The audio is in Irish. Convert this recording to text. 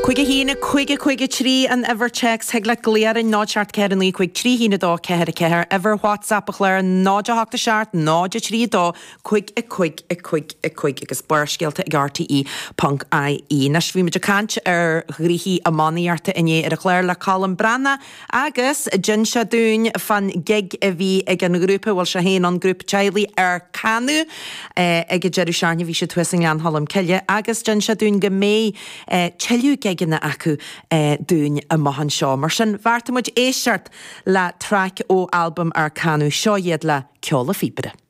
5 1 5 5 3 an uimhir téacs thig leat glaoch orainn 0 7 4 9 5 3 1 2 4 4 uimhir WhatsApp an chláir 0 8 7 0 3 2 5 5 5 5 agus Barrscéalta ag RTÉ ponc IE. Anois bhí muid ag caint ar ghnoithí iománaíochta inné ar an chlár le Colm Breathnach agus d'inis sé dúinn fán gig a bhí ag an ghrúpa, a bhfuil sé féin ann, grúpa teaghlaigh Ár Canadh ag an deireadh seachtaine, bhí siad thuas i nGleann Cholm Cille agus d'inis sé dúinn go mbeidh tuilleadh gigeanna acu dúinn amach anseo. Mar sin bheartaigh muid éisteacht le traic ó albam Ár Canadh, seo iad le Ceol a' Phíobaire.